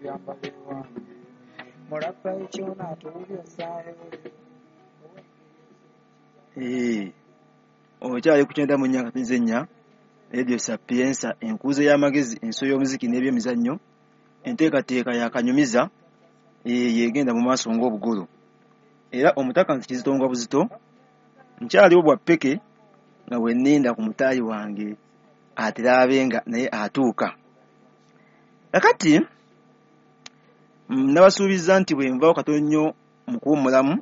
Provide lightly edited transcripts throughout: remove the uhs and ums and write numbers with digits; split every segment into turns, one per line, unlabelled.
Ebyambalo ewange mulabba ekyona atuwulya essaawa.
Okyali ku 94.4 Radio Sapienza, enkuuzo y'amagezi, enso y'omuziki n'ebyemizannyo, enteekateeka yakanyumiza yegenda mu maaso ng'obugolo. Era omutaka nti kizitonga buzito nkyaliwo bwa ppeke nga bwe nninda ku mutaayi wange ateraabe nga naye atuuka. Kakati nabasuubizza nti bwe nvaawo katono nnyo mu kuwummulamu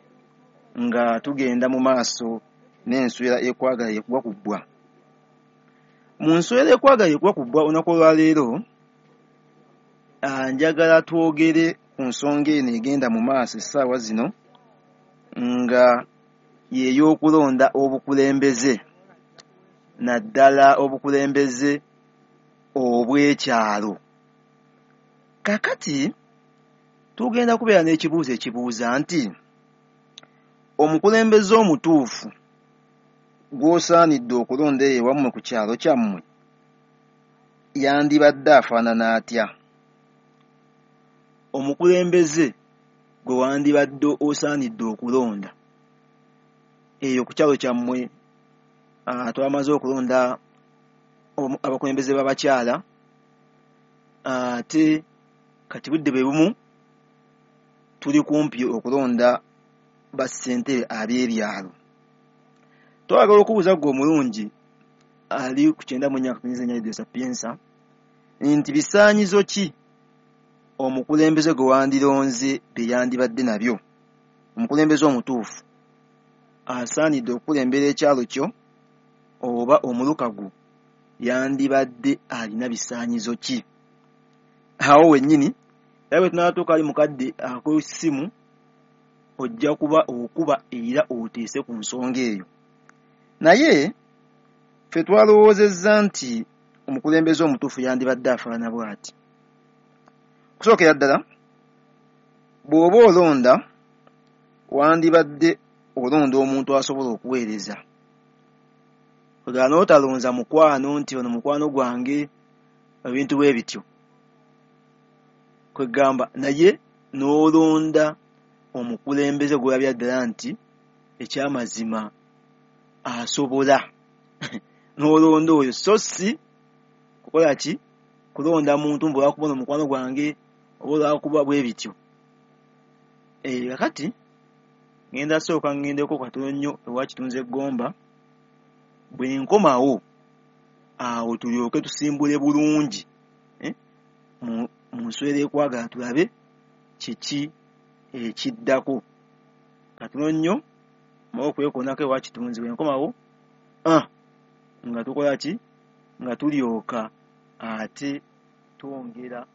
nga tugenda mu maaso n'enswera ekwagala ekuwa ku bbwa. Mu nswera ekwagala ekuwa ku bbwa olunaku olwaleero njagala twogere ku nsonga eno egenda mu maaso essaawa zino nga y'ey'okulonda obukulembeze, naddala obukulembeze obw'ekyalo. Kakati tugenda kubeera n'ekibuuzo ekibuuza nti omukulembeze omutuufu gw'osaanidde okulonda eyo ewammwe ku kyalo kyammwe yandibadde afaanana atya? Omukulembeze gwe wandibadde osaanidde okulonda eyo ku kyalo kyammwe, twamaze okulonda abakulembeze b'abakyala, ate kati budde bwe bumu tuli kumpi okulonda bassentebe ab'ebyalo. Twagala okubuuza ggwe omulungi ali ku 94.4 Radio Sapienza nti bisaanyizo ki omukulembeze gwe wandironze bye yandibadde nabyo? Omukulembeze omutuufu asaanidde okukulembera ekyalo kyo oba omuluka gwo yandibadde alina bisaanyizo ki? Awo wennyini era bwe tunaatuuka ali mu kadde ak'essimu ojja kuba okuba era oteese ku nsonga eyo. Naye ffe twalowoozezza nti omukulembeze omutuufu yandibadde afaanana bw'ati. Okusookera ddala, bw'oba olonda wandibadde olonda omuntu asobola okuweereza. Kwegamba n'otalonza mukwano nti ono mukwano gwange, ebintu bwe bityo. Kwegamba naye n'olonda omukulembeze gw'olabira ddala nti ekyamazima asobola. N'olonda oyo so si kukola ki? Kulonda muntu mbu olwakuba ono mukwano gwange oba olwakuba bwe bityo. Kakati ngenda sooka ngendeko katono nnyo ewa Kitunzi Eggomba, bwe nkomawo awo tulyoke tusimbule bulungi mu nswera ekwagala tulabe kiki ekiddako. Katono nnyo mmaze okwekoonako ewa Kitunzi, bwe nkomawo nga tukola ki? Nga tulyoka ate twongera